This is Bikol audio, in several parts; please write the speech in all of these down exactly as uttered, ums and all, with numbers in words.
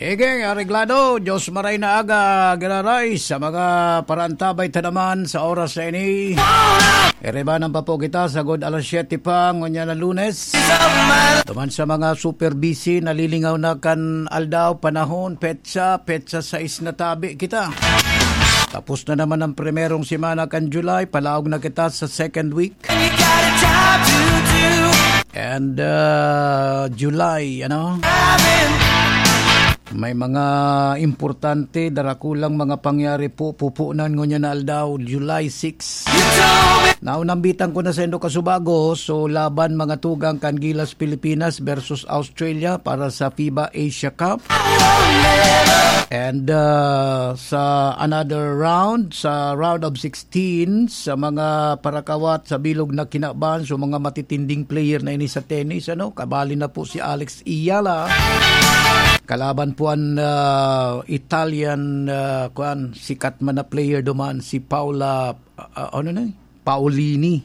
Sige, areglado. Diyos maray na aga, giraray sa mga parantabay ta naman sa oras na ini. Iribanan pa po kita sagod alas siyete pa, ngunyan na Lunes. Duman sa mga super busy, nalilingaw na kan aldaw, panahon, petsa, petsa sais na tabi kita. Tapos na naman ang primerong semana kan July, palaog na kita sa second week. And uh, July, ano? May mga importante, darakulang mga pangyari po, pupunan ngunyan na aldaw, July six. Naunambitan ko na sa indo kasubago, so laban mga tugang kan Gilas Pilipinas versus Australia para sa FIBA Asia Cup. And uh, sa another round, sa round of sixteen, sa mga parakawat sa bilog na kinaban, so mga matitinding player na ini sa tennis, ano, kabali na po si Alex Iyala. Kalaban po an uh, Italian, uh, kuan, sikat man na player duman, si Paula, uh, ano na, Paolini.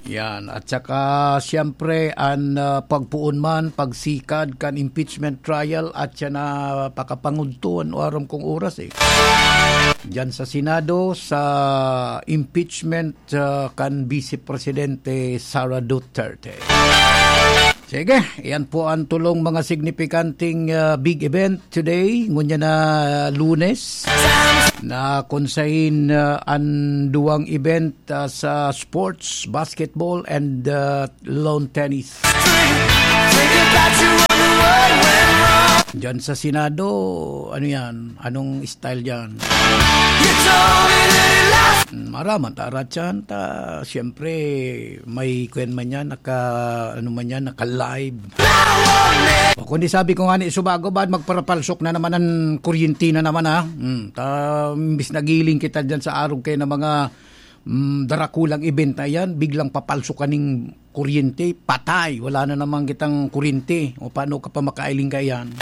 Yan. At saka, siyempre, an uh, pagpuon man, pagsikad kan impeachment trial at siya na pakapangudtuan o aram kong oras eh. Diyan sa Senado, sa impeachment uh, kan Vice Presidente Sara Duterte. Sige, yan po ang tulong mga signipikanting uh, big event today, ngunyan na uh, Lunes, na kung sain uh, ang duwang event uh, sa sports, basketball, and uh, lawn tennis. Diyan sa Senado, ano yan? Anong style diyan? Maraman, tarat yan. Ta, siyempre, may kwen man yan, naka, ano man yan, naka-live. O kundi sabi ko nga ni Subago, ba't magparapalsok na naman ang kuryente na naman, ha? Hmm, ta, imbis nagiling kita dyan sa arog kayo ng mga mm, darakulang event na yan, biglang papalsok kaning kuryente, patay, wala na naman kitang kuryente. O paano ka pa makailing ka yan?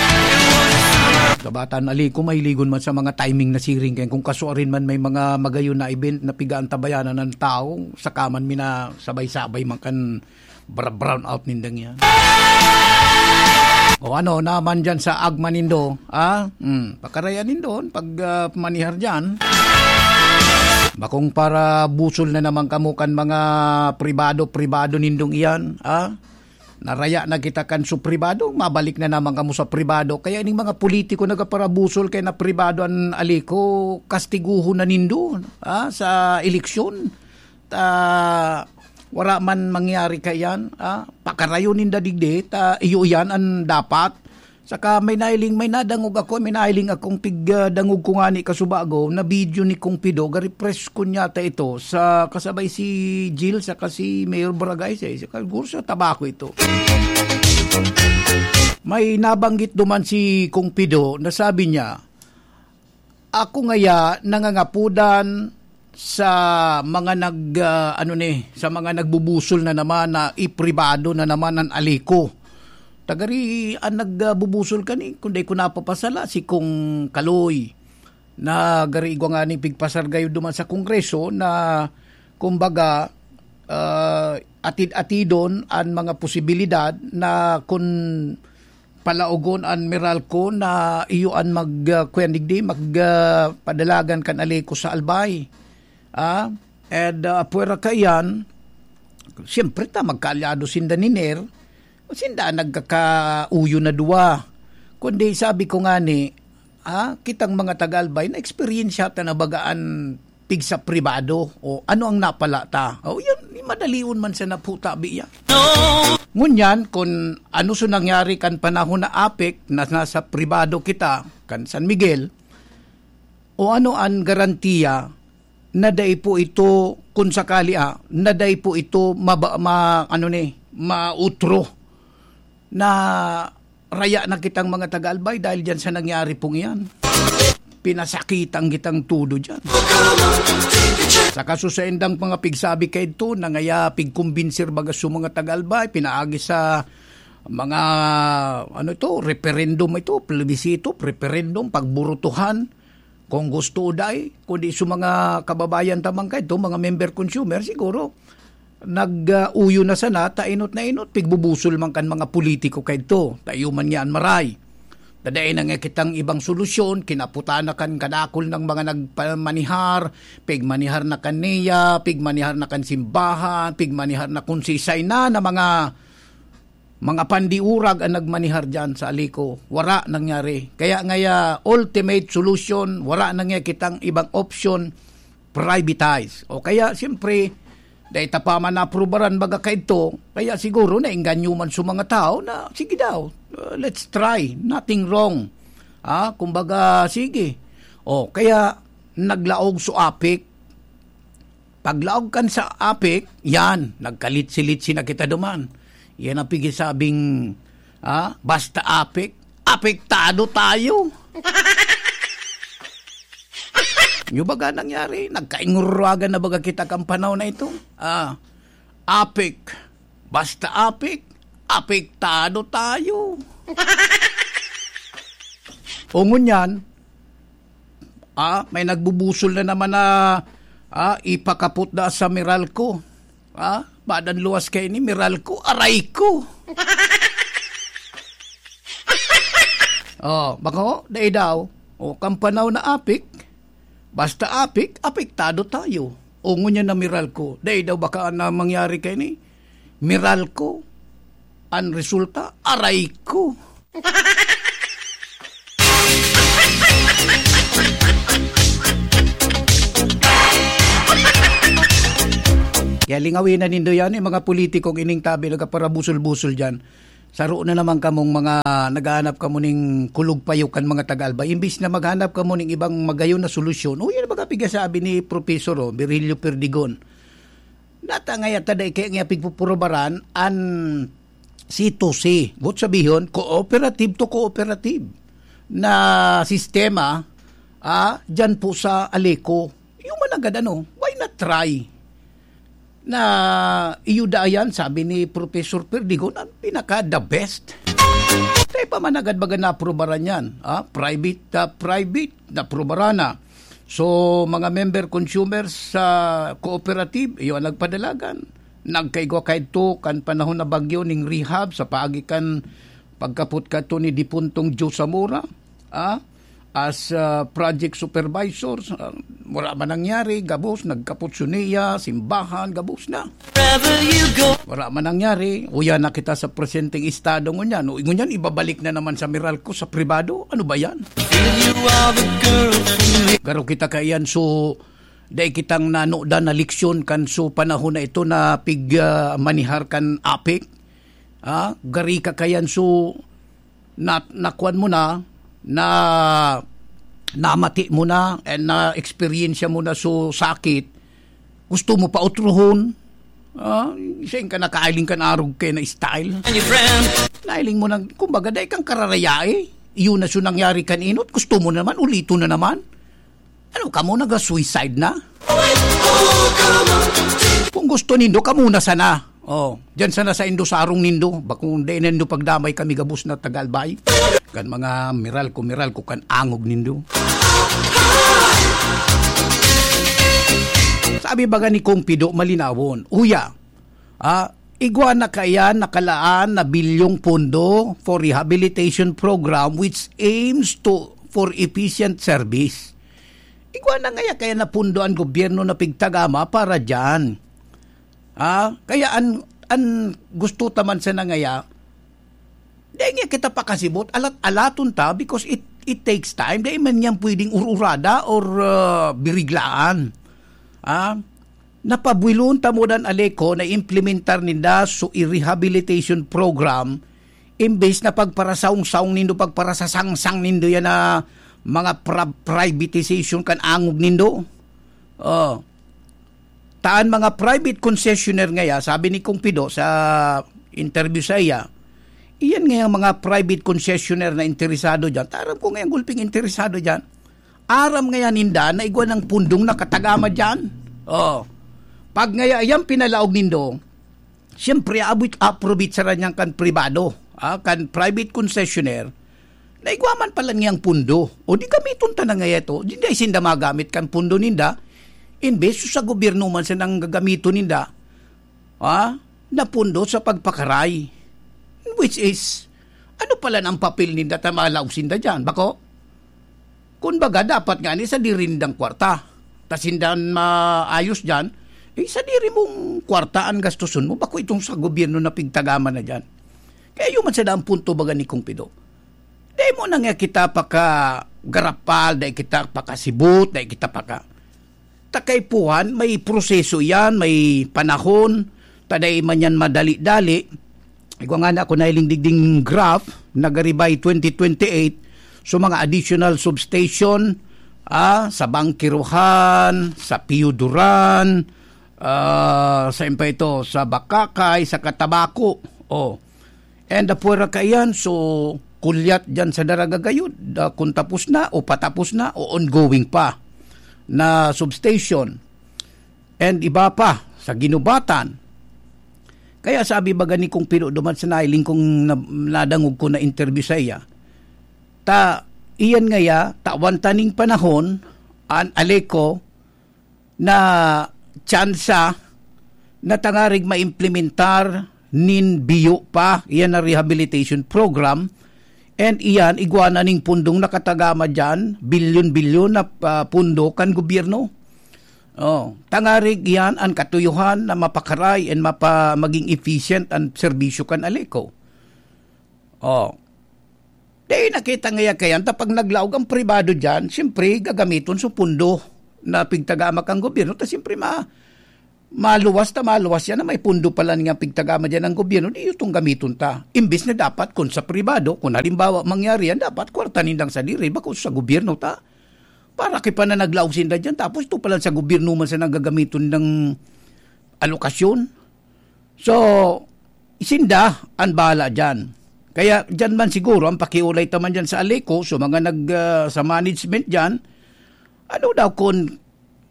Kabatan ali ko, mailigon man sa mga timing na siring kayan. Kung kasuarin man may mga magayon na event na pigaantabayanan ng tao, saka man mina sabay-sabay man kan bra-, brown out nindang yan. O ano naman dyan sa agma nindo? Ah, hmm, pakarayan nindo pag ah, manihar dyan. Bakong para busol na naman kamo kan mga pribado-pribado nindong iyan, ah? Naraya na kita kan su pribado, mabalik na naman kamo sa pribado. Kaya ining mga politiko nagaparabusol kay na pribado an aliko, kastiguhon na nindo, ah, sa eleksyon. Ta, wara man mangyari kaiyan, ah, pakarayon ninda digdi, ta iyo iyan an dapat. Saka may nailing, may nadangog ako, may nailing akong pig, ah, dangog ko ngani kasubago na video ni Kong Pido, gari press con yata ito, sa kasabay si Jill saka si Mayor Barangay, sa, siguro sa Tabaco ito. May nabanggit duman si Kong Pido na sabi niya, "Ako ngaya nangangapodan sa mga nag, ah, ano ni, sa mga nagbubusol na naman na ipribado na naman an aliko." Tagari an nagbubusol kani, kun dai ko napapasala, si Kong Kaloy, na gari igwa ngani pigpasar gayod duman sa Kongreso na, kumbaga, ah, atid-atidon an mga posibilidad na kun palaogon an Meralco na iyo an mag, ah, kuyan digdi, mag, ah, padalagan kan Aleco sa Albay. Ah, and, ah, pwera kaiyan, siyempre ta, magkaalyado sinda ni Ner, sinda an nagkakauyo na duwa. Kundi sabi ko ngani, ah, kitang mga taga-Albay, na-eksperyensya ta na baga an pigsa pribado, o ano ang napala ta? O, yan, madalion man sa naputa, biya. Ngunyan, kun ano so nangyari kan panahon na APEC, na nasa pribado kita, kan San Miguel, o ano an garantiya na dai po ito, kun sakali, ah, na dai po ito maba-, ma-, ano ni, mautro na raya na kitang mga taga-Albay dahil diyan sa nangyari pong iyan. Pinasakitan kitang todo diyan. Saka so saindang mga pigsabi kaidto, na ngaya pigkumbinsir baga so mga taga-Albay, pinaagi sa mga, ano ito, referendum ito, plebisito, referendum, pagburutuhan, kung gusto o dai, kundi so mga kababayan ta man kaidto, mga member consumer, siguro, nag-uyo na sana, ta inot na inot, pigbubusol man kan mga politiko kaidto, ta iyo man niya an maray. Dai na nga kitang ibang solusyon, kinaputan na kan kadakul na mga nagpamanihar, pigmanihar na kan NEA, pigmanihar na kan simbahan, pigmanihar na kun sisay na, na mga, mga pandiurag ang nagmanihar diyan sa Aleco. Wara nangyari. Kaya ngaya, ultimate solution, wara na nga kitang ibang option, privatize. O kaya, siyempre, dai ta pa man naaprubaran baga kaidto, kaya siguro naengganyo man sa mga tao na, "Sige daw, uh, let's try, nothing wrong." Ah, kumbaga, sige. O, kaya naglaog sa APEC. Paglaog kan sa APEC, yan, nagkalitsi-litsi na kita duman. Yan ang pigisabing, ah, basta APEC, apektado tayo. Nyo baga nangyari? Nagkainguragan na baga kita kan panahon na ito? Ah, APEC. Basta APEC, apektado tayo. O ngunyan, ah, may nagbubusol na naman na, ah, ipakapot na sa Meralco. Ah, badan luwas kaini, Meralco, aray ko. Oh, bako, dai daw. O, kan panahon na APEC, basta APEC, apektado tayo. O, ngunyan na Meralco, dai daw baka na mangyari kaini. Meralco, ang resulta, aray ko. Kaya lingawin na nindo yan, yung mga politikong ining tabi, nagkaparabusol-busol dyan. Saro na naman kamong mga naghahanap kamo ning kulog payo kan mga taga-Albay. Imbis na maghanap kamo ning ibang magayon na solusyon, o yan baga pigasabi ni Professor, oh, Virgilio Perdigon. Nata nga yata dai kaya nga pigpupurubaran an C to C. Got sabihon, cooperative to cooperative na sistema, ah, dyan po sa Aleco. Yung managad, ano, why not try? Na iyo da yan, sabi ni Professor Perdigon, ang pinaka the best. Tayo pa managad baga naaprubaran yan. Ah, private, ah, private, naaprubaran na. So, mga member consumers sa cooperative, iyo ang nagpadalagan. Nagkaigwa kaidto kan panahon na bagyo ning rehab sa paagi kan pagkapot kato ni Dipuntong Joe Zamora, ah, as, ah, project supervisors. Ah, wala man nangyari, gabos, nagkapot su NEA, simbahan, gabos na. Wherever you go. Wala man nangyari, uya na kita sa presenteng estado ngunyan. O, ngunyan, ibabalik na naman sa Meralco, sa pribado. Ano ba yan? Feel you are the girl for me. Garo kita kaiyan, so, dai kitang nanudan na leksyon kan so panahon na ito na pig, ah, manihar kan APEC. Ah, gari ka kaiyan, so, na, nakuan mo na, na namati mo na, and na-experience mo na so sakit, gusto mo pa utrohon? Ah, isa yung ka nakailing kan arog kay na style. And your friend. Nailing mo nang, kumbaga, dai kang kararayai. Iyon na so nangyari kan inot, gusto mo naman, ulito na naman. Ano ka mo, naga-suicide na? Kung gusto nindo, kamo na sana. Oh, diyan sana sa indo, sa arong nindo. Bakong dai nindo pagdamay kami gabos na taga-Albay. Kan mga Meralco, Meralco, kan angog nindo. Sabi baga ni Kong Pido, malinawon. Uya, ah, igwa na kaya nakalaan na bilyong pondo for rehabilitation program which aims to for efficient service. Igwa na ngaya kaya na pondo an gobyerno na pigtagama para diyan. Ah, kaya an, an gusto ta man sana ngaya, dai nga kita pakasibot, alat-alaton ta because it, it takes time. Dai man yan pwedeng ur-urada or, ah, biriglaan. Ah, napabuilon ta mo dan Aleco na implementar ninda so i-rehabilitation program, imbes na pagparasaong-saong nindo, pagparasasangsang nindo yan na mga pra-, privatization kan angog nindo. Oh. Taan mga private concessionaire ngaya, sabi ni Kong Pido sa interview sa iya, iyan ngayang mga private concessionaire na interesado dyan. Taram ko ngayang gulping interesado dyan. Aram ngaya ninda na igwa ng pundong nakatagama dyan. Oh. Pag ngaya iyang pinalaog nindo, siyempre, abot, aprobitsaran niyan kan pribado, ah, kan private concessionaire, na igwa man pala niyang pundo. O di gamiton ta na ngaya ito. Di, di sinda magamit kan pundo ninda. Imbes sa gobyerno man sanang gagamiton ninda, ah, na pundo sa pagpakaray. Which is, Ano pala ang papel ninda ta malaog sinda diyan? Bako? Kun baga, dapat nga ni sadiri nindang kwarta. Ta sinda an maayos diyan, eh, sadiri mong kwarta an gastuson mo, bako itong sa gobyerno na pigtagaman na diyan. Kaya yun man sana ang punto baga ni Kong Pido. Dai mo na nga kita pakagarapal, dai kita pakasibot, dai kita paka-, ta kaipuhan, may proseso yan, may panahon, ta dai man yan madali-dali. Igwa nga na ako nahiling digding graph, nagari by twenty twenty-eight, so mga additional substation, ah, sa Bangkiruhan, sa Piyuduran, ah, sa pa ito, sa Bakakay, sa Katabaco. Oh. And apwera kaiyan, so, kulyat dyan sa Daraga gayod, ah, kung tapos na, o patapos na, o ongoing pa na substation. And iba pa, sa Ginubatan. Kaya sabi baga ni Kong Pino duman sa nailing kong na-, nadangog ko na interview sa iya, ta, iyan ngaya, tawan taning panahon, an Aleco, na tsansa na tangarig maimplementar nin biyo pa, iyan na rehabilitation program, and iyan, igwa na ning pundong nakatagama diyan, bilyon-bilyon na, ah, pundo kan gobyerno. Oh, tangarig iyan an katuyohan na mapakaray and mapa-, maging efficient an serbisyo kan Aleco. Oh. Di nakita ngaya kayan, ta pag naglaog ang pribado diyan, siyempre, gagamiton sa pundo na pigtagama kan gobyerno, ta siyempre, ma-, maluwas ta maluwas yan na may pundo pala nga pigtagama diyan ang gobyerno, di itong gamiton ta. Imbis na dapat, kung sa pribado, kung halimbawa mangyari yan, dapat kwarta nindang sadiri, bako sa gobyerno ta. Para kay pa na naglaog sinda diyan, tapos ito pala sa gobyerno man sa nagagamiton ng alokasyon. So, sinda an bahala diyan. Kaya diyan man siguro ang pakiulay ta man diyan sa Aleco, so mga nag, ah, sa management diyan, ano daw kun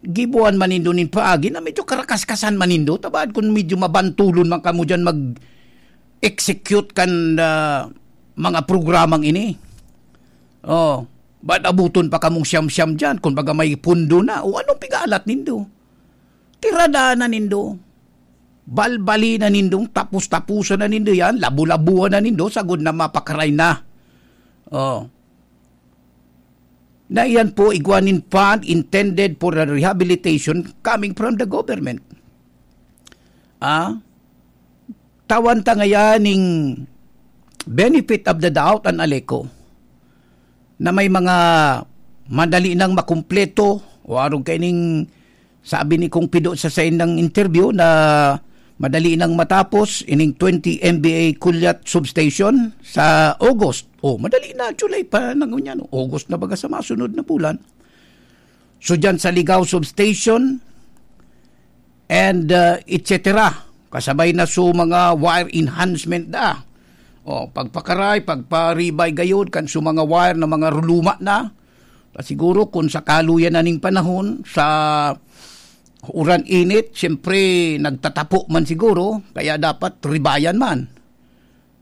gibuan man nindo nin paagi na medyo karakaskasan man nindo, ta baad kun medyo mabantulon man kamo diyan mag-execute kan, ah, mga programang ini. Oh, baad abuton pa kamong siyam-siyam diyan, kun baga may pundo na, o anong pigalat nindo? Tirada na nindo. Balbali na nindong tapos-tapusan na nindo yan, labu-labuan na nindo, sagod na mapakaray na. Oh. Na iyan po, igwa nin fund intended for the rehabilitation coming from the government. Ah? Tawan ta ngayan ning benefit of the doubt an Aleco na may mga madali nang makumpleto o arog kaining sabi ni Kong Pido sa saindang interview na madali nang matapos ining twenty M V A Kulyat Substation sa August. Oh, madali na, July pa na ngunyan, no? August na baga sa masunod na bulan. So, dyan sa Ligao Substation, and, uh, et cetera. Kasabay na so mga wire enhancement da. O, pagpakaray, pagparibay gayod, kan so mga wire na mga ruluma na. Ta siguro, kung sa kaluyan na ning panahon, sa uran init, siyempre, nagtatapo man siguro, kaya dapat ribayan man.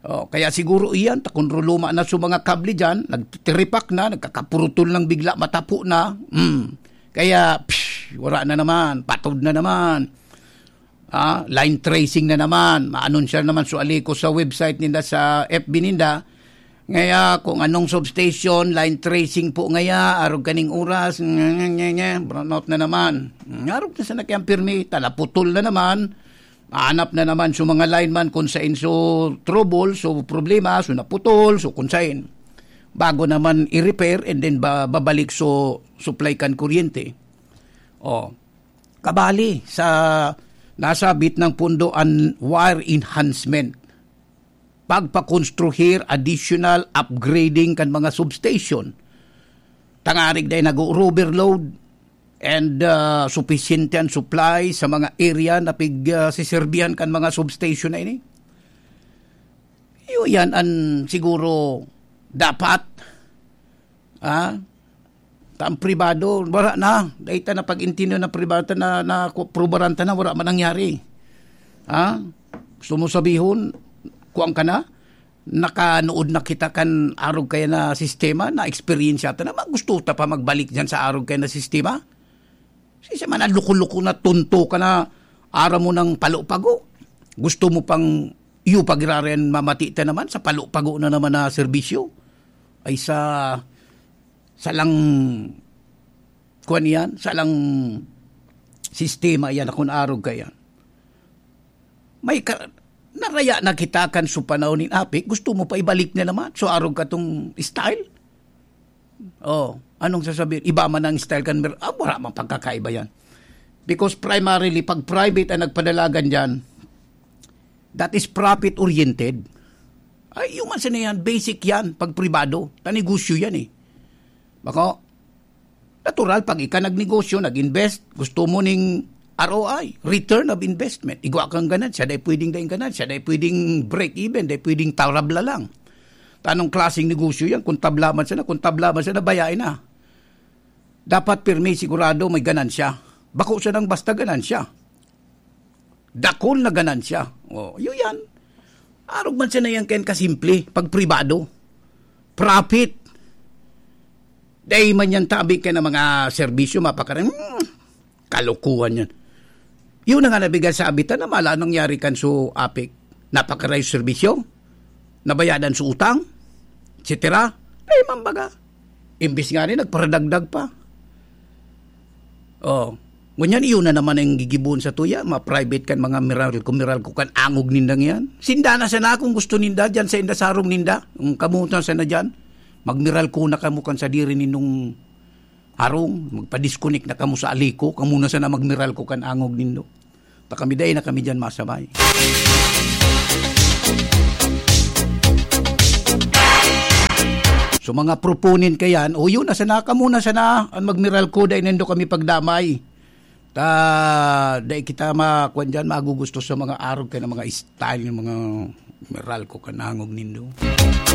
Oh, kaya siguro iyan, ta kun ruluma na so mga kable diyan, nagtitiripak na, nagkakapurutol ng bigla, matapo na. Hmm. Kaya, psh, wala na naman, patod na naman. Ah, line tracing na naman. Maanunsya naman so Aleco sa website ninda, sa F B ninda. Ngaya, kung anong substation, line tracing po ngaya, arog kaning oras, nye, nye, nye, nye, brownout na naman. Hmm, arog na sana kayang pirmi, ta naputol na naman. Mahanap na naman so mga lineman kung sain so trouble, so problema, so naputol, so kung sain. Bago naman i-repair and then ba-, babalik so supply kan kuryente. Oh. Kabali sa nasabit ng pundo an wire enhancement. Pagpakonstruhir, additional upgrading kan mga substation. Tangarig dai nag-overload and, ah, supisyente an supply sa mga area na pig, ah, siserbihan kan mga substation na ini. Iyo yan an siguro dapat, ah, ta ang pribado, wala na. Dai ta na pag-intindihan na pribado na, na ku-, prubaran ta na, wala man nangyari. Ah, gusto mo sabihon, kuwan ka na? Nakanood na kita kan arog kaya na sistema, na-eksperyensya ta na, ma-, gusto ta pa magbalik diyan sa arog kaya na sistema? Sisay man, loko-loko na, tonto ka na, aram mo nang palo-pago. Gusto mo pang Iyo pa giraray an mamati ta naman sa palo-pago na naman na serbisyo. Ay sa, salang, kuwan iyan, salang sistema iyan, akon arog ka iyan. May ka-, naraya na kita kan su panahon nin apik, gusto mo pa ibalik na naman, so arog ka tong style? Oh, anong sasabihin? Iba man ang style kan mer-, ah, wala mang pagkakaiba yan. Because primarily, pag private ang nagpadalagan dyan, that is profit-oriented. Ay, human sana yan, basic yan, pag pribado. Ta negosyo yan eh. Bako, natural, pag ika nagnegosyo, nag-invest, gusto mo ning R O I, return of investment. Igwa kang ganansya, dai pwedeng daing ganansya, dai pwedeng break even, dai pwedeng tarabla lang. Ta anong klaseng negosyo yan? Kung tabla man sana, kung tabla man sana, bayae na. Dapat pirmi, sigurado may ganansya. Bako sanang basta ganansya. Dakul na ganansya. Oh, yun yan. Arog man sana yan kayan kasimple, pag pribado. Profit. Dai man yan tabi ka ng mga serbisyo, mapakarin. Hmm, kalokohan yan. Yun na nga nabigan sa abitan na mala nangyari kan su apik. Napakarayo serbisyo, nabayadan su utang, et cetera. Dai man baga. Imbis nga ni, nagparadagdag pa. Oh, ngunyan iyo na naman ang gigibohon sa tuya, ma-private kan mga Meralco, Meralco kan angog nindang yan. Sinda na sana kung gusto ninda, dyan sa inda sa harong ninda. Kung kamo na sana dyan, mag-Meralco na kamo kan sadiri nindong harong, magpa-disconnect na kamo sa Alico, kamo na sana mag-Meralco kan angog nindo. Ta kami dai na kami dyan masabay. So, mga proponent ka yan, o yun na sana, kamo na sana, ang mag-Meralco, dai nindo kami pagdamay. Ta, dai kita ma-, kwan dyan, magugusto sa mga arog ka ng mga style ng mga Meralco kan angog nindo.